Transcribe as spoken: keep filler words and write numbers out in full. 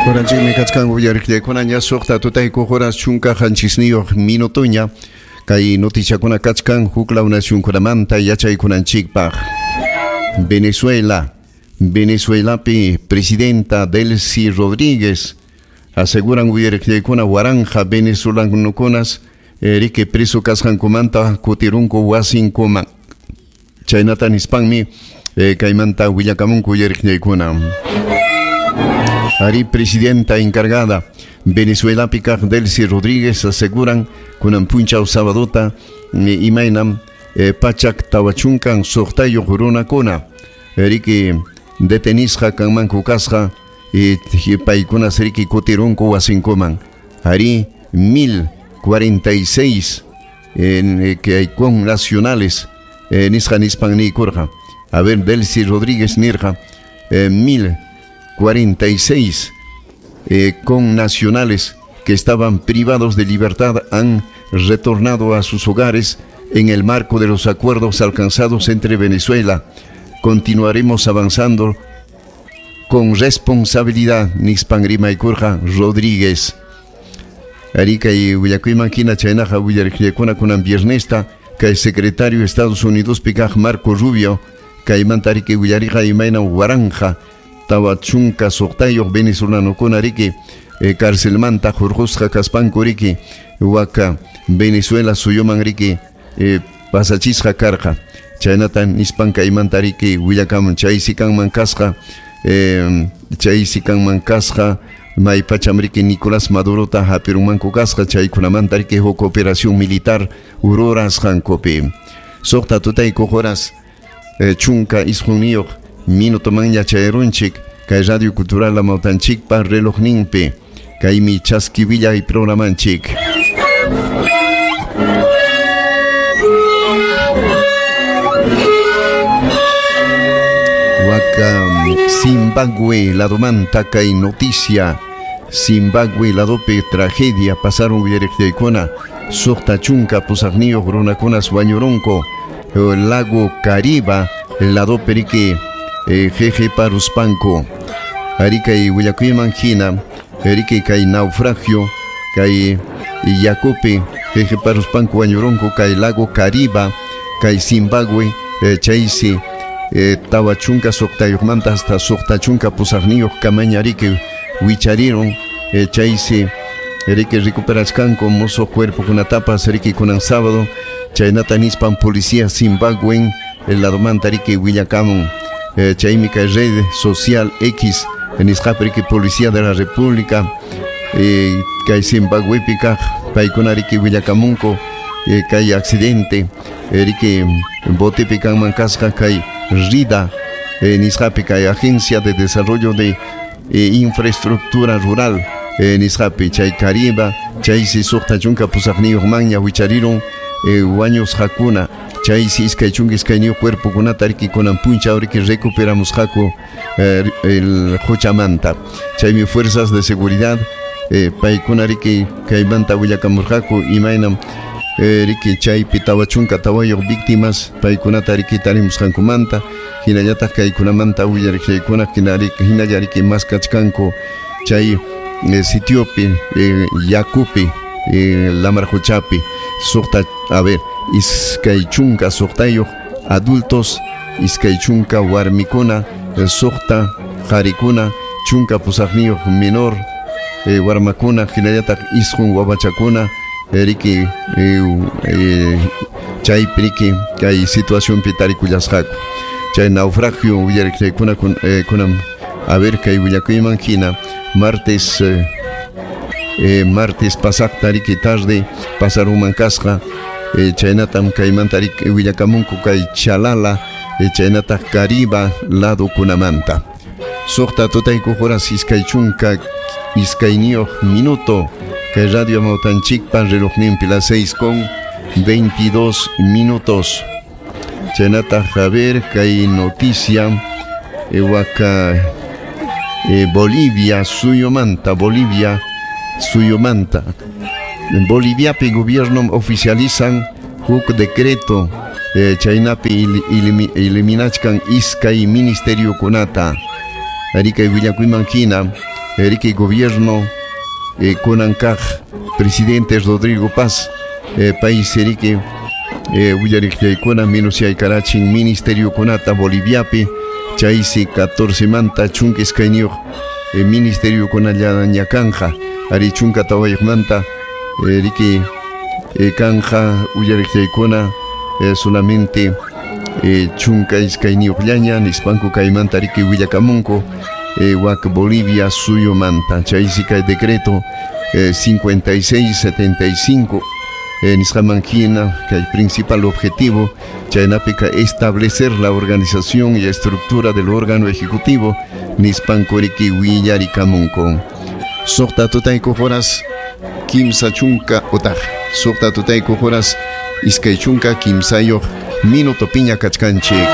Horanchikmi kachkan uyariqllaykuna ña suqta tutayku horas chunka qanchisniyuq minutoña kay noticiakuna kachkan huklaw nacionkunamanta yachaykunanchikpaq. Venezuela, Venezuelapi presidenta Delcy Rodríguez aseguran uyariqllaykuna waranja venezolanukunas riki preso kasqankumanta kutirunku wasinkuman. Chaynata nispanmi eh, kaymanta willakamunku uyariqllaykuna. Ari presidenta encargada Venezuela kaq Delcy Rodríguez aseguran kunan punchaw sabadota imaynam eh, pachak tawachunkan suqtayuq runakuna riki detenisqa kanmanku kasqa y paykuna riki kutirunku wasinkuman. Ari mil cuarenta y seis en eh, que hay con nacionales eh, nisqa nispan niykurqa. A ver, Delcy Rodríguez nirqa eh, mil cuarenta y seis eh, con nacionales que estaban privados de libertad han retornado a sus hogares en el marco de los acuerdos alcanzados entre Venezuela. Continuaremos avanzando con responsabilidad, nispan rimaykurqa Rodríguez. Arica y willakuyman hina chaynaqa willariqllakuna kunan viernesta kay secretario de Estados Unidos pikaq Marco Rubio kaymanta riki willariqa imayna waranja tawa chunka suqtayuq venezolanokuna riki eh, carcelmanta hurqusqa kaspanku riki waka Venezuela suyuman riki eh, pasachisqa karqa. Chaynata nispan kaymanta riki willakamun chaysi kanman kasqa eh, chaysi kanman kasqa may pacham riki Nicolás Madurota hapirunmanku kasqa chaykunamanta riki huk operación militar rurasqankupi. Suqta tutayku horas eh, chunka isqunniyuq minuto manña chayrunchik kay Radio Cultural Amawtanchikpa relojninpi kaymi chaski willay programanchik. Waka Zimbabue ladomanta kay noticia Zimbabue ladopi tragedia pasaron willariqllaykuna suqta chunka pusaqniyuq runakunas wañurunku lago Kariba ladopi riki jeje paruspanku. Ari kay willakuyman hina riki kay naufragio kay yakupi jeje paruspanku wañurunku kay lago Kariba kay Zimbabue chaysi tawa chunka suqtayuqmanta hasta suqta chunka pusaqniyuq kamaña riki wichariron chaysi riki recuperachkanku musuq cuerpokunatapas riki kunan sábado chaynata nispan policía Zimbabuen el ladomanta riki willakamun. Chaymi kay red social X nisqapi riki policía de la República kay Zimbabwepi kaq paykuna riki willakamunku kay accidente riki botepi kanman kasqa kay RIDA nisqapi kay Agencia de Desarrollo de Infraestructura Rural nisqapi chay Kariba chaysi suqta chunka pusaqniyuq manña wichariron wañusqakuna chaysi iskay chunka iskayniyuq cuerpokunata riki kunan punchaw riki recuperamusqaku el quchamanta. Chaymi fuerzas de seguridad paykuna riki kaymanta willakamurqaku imaynam riki chaypi tawa chunka tawayuq víctimas paykunata riki tarimusqankumanta hinallataq kaykunamanta willariqllaykuna hinalla riki maskachkanku chay sitiopi yakupi lamar quchapi suqta a ver iskay chunka suqtayuq adultos iskay chunka warmikuna suqta qarikuna chunka pusaqniyuq menor warmakuna hinallataq isqun wawachakuna riki chaypi riki kay situacionpi tarikullasqaku. Chay naufragio willariqllaykuna kunan a ver kay willakuyman hina martes eh, martes pasaqta riki tarde pasarunman kasqa eh, chaynatam kaymanta riki willakamunku kay Chalala eh, chaynataq Kariba ladokunamanta. Suqta tutayku horas iskay chunka iskayniyuq minuto kay Radio Amawtanchikpa relojninpi las seis con veintidós minutos. Chaynataq a ver kay noticia waka eh, Bolivia suyumanta Bolivia suyumanta En Boliviapi gobierno oficializan huk decreto eh, chaynapi eliminachkan iskay ministerio kunata. Ari kay willakuyman hina riki gobierno eh, kunan kaq presidente Rodrigo Paz eh, paysi riki eh, willariqllaykuna minusyaykarachin ministeriokunata Boliviapi, chaysi catorce manta chunka iskayniyuq eh, ministeriokunallaña kanja, ari chunka tawayuqmanta eh, riki eh, kanja willariqllaykuna eh, solamente eh, chunka iskayniyuqllaña nispanku kaymanta riki willakamunku eh, wak Bolivia suyumanta. Chaysi kay decreto eh, cincuenta y seis setenta y cinco eh, nisqaman hina kay principal objetivo chaynapika establecer la organización y estructura del órgano ejecutivo nispanku riki willarikamunku. Suqta tutaykuq horas kimsa chunka utaq suqta tutaykuq horas iskay chunka kimsayuq minuto piña kachkanchik.